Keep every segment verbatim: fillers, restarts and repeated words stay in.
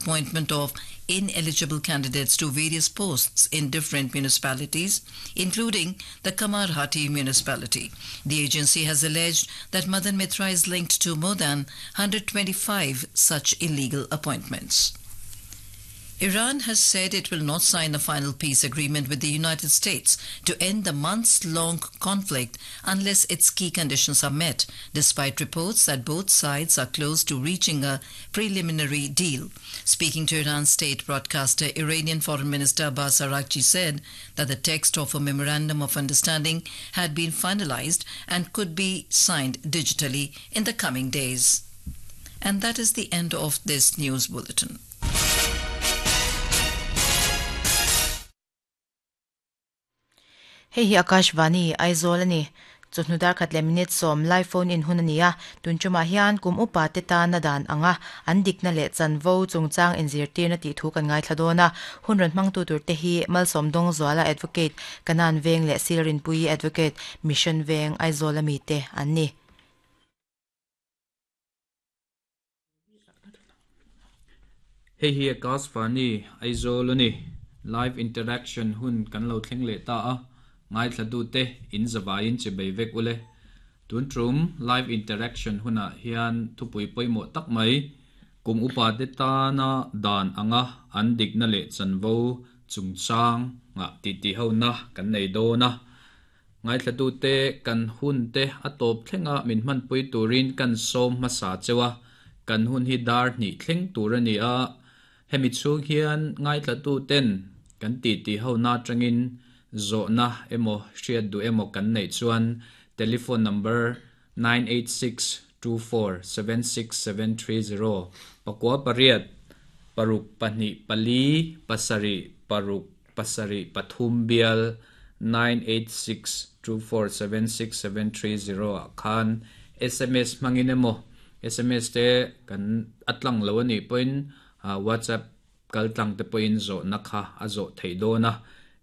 appointment of ineligible candidates to various posts in different municipalities, including the Kamarhati municipality. The agency has alleged that Madan Mitra is linked to more than one hundred twenty-five such illegal appointments. Iran has said it will not sign a final peace agreement with the United States to end the months-long conflict unless its key conditions are met, despite reports that both sides are close to reaching a preliminary deal. Speaking to Iran's state broadcaster, Iranian Foreign Minister Abbas Araghchi said that the text of a memorandum of understanding had been finalized and could be signed digitally in the coming days. And that is the end of this news bulletin. Hei hi Akashvani Aizawl ani chawhnu dar khat leh minute sawm live phone in hun ani a tun tumah hian kum upa te tana dan anga an dikna leh chanvo chungchang inzirtirna tih thu kan ngaithla dawn a hun rawn hmang tu tur te hi Malsawm Dawng Zuala Advocate Kanan Veng leh Silrin Pui Advocate Mission Veng Aizawl ami te an ni. Hei hi Akashvani Aizawl ani live interaction hun kan lo thleng leh ta a ngaithla tu te in zawain che bei vek ule tun tum live interaction huna hian thupui pawimawh tak mai kum upa te tana dan anga an dikna leh chanvo chungchang nga ti ti ho na kan nei dawna ngaithla tu te kan hun te a tawp thlenga min hman pui turin kan sawm hmasa chewa kan hun hi dar hnih thleng tur ani a hemi chhung hian ngaithla tu ten kan ti ti ho na tangin zawhna emaw hriat duh emaw kan neih chuan telephone number nine eight six two four seven six seven three zero pakua pariat paruk pahnih pali pasarih paruk pasarih pathum bial nine eight six two four seven six seven three zero ah khan S M S hmangin emaw S M S te kan atlang lo ani pawhin WhatsApp kal tlang te pawhin zawhna kha a zawh theih dawn a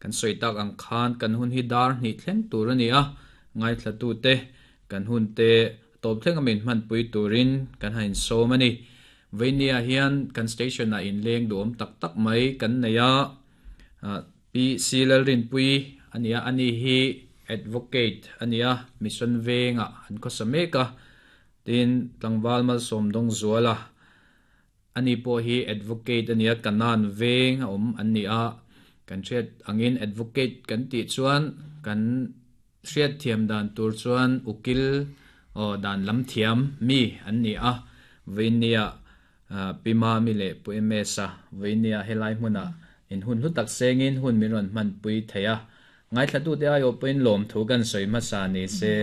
kan sawi tak ang khan kan hun hi dar hnih thleng tur ani a ngaithla tu te kan hun te tawp thleng a min hman pui turin kan hain sawm ani veinia hian kan station a inleng duam tak tak mai kan nei a P C Lalrin Pui ania ani hi advocate ania Mission Venga an khawsa mek a tin tlangval Malsawm Dawng Zuala ani pawh hi advocate ania Kanan Veng a awm an ni a kan hriat angin advocate kan tih chuan kan hriat thiam dan tur chuan ukil aw dan lam thiam mi an ni a veinia pima mi leh pu M S a veinia helai hmuna in hun hlu tak sengin hun min rawn hman pui thei a ngaithla tu te ai aw pawhin lawm thu kan sawi hmasa ni se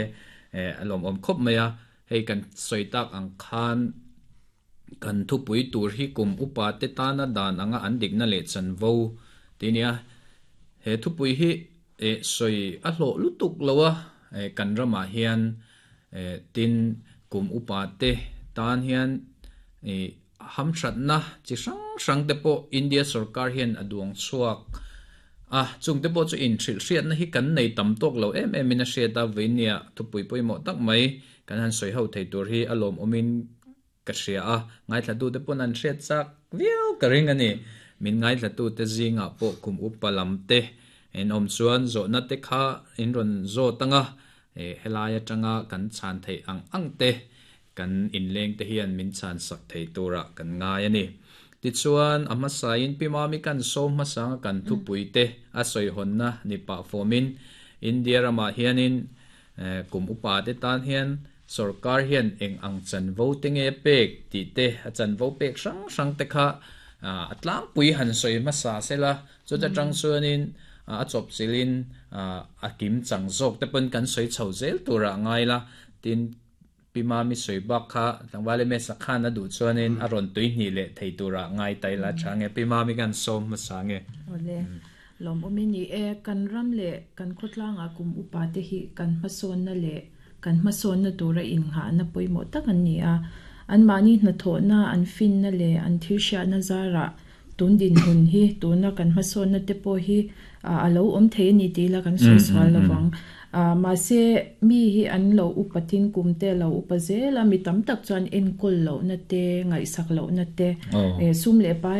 a lawm awm khawp mai a hei kan sawi tak ang khan kan thupui tur hi kum upa te tana dan anga an dikna leh chanvo tinia he thupui hi e sawi a hlawh lutuk lo a kan ramah hian tin kum upa te tan hian e hamhratna chi hrang hrang te pawh India sarkar hian a duang chhuak a chung te pawh chu in hrilh hriatna hi kan nei tam tawk lo em em in a hriat a veinia thupui pawimawh tak mai kan han sawi ho thei tur hi a lawm awmin ka hria a ngaithla tu te pawn an hriat chak viau ka ring ani min ngaithla tu te zinga pawh kum upa lam te en awm chuan zawhna te kha in rawn zawt anga e helai atanga kan chhan thei ang ang te kan inleng te hian min chhan sak thei tura kan ngai ani tichuan a hmasain pimami kan sawm hmasanga kan thupui te a sawi hawnna ni pah fawmin India ramah hianin kum upa te tan hian sarkar hian eng ang chanvo te nge pek tih te a chanvo pek hrang hrang te kha a tlangpui han sawi hmasa sela chuta tang chuanin a chawp chilin a kim chang zawk te pawn kan sawi chho zel tura ngai la tin pima mi sawi bak kha tlangval M S a khan a duh chuanin a rawn tui hnih leh thei tura ngai tai la tha nge pima mi kan sawm hmasa nge ole lawm awmin ni e kan ram leh kan khawtlanga kum upa te hi kan hmasawn na leh kan hmasawn na tura inngahna pawimawh tak an ni a an mahni hnathawhna an finna leh an thil hriatna zara tun din hun hi tuna kan hmasawn na te pawh hi a lo awm thei ani tih la kan sawi sual lovang ma se mi hi an lo upa tin kum te lo upa zela mi tam tak chuan enkawl lohna te ngaihsak lohna te sum leh pai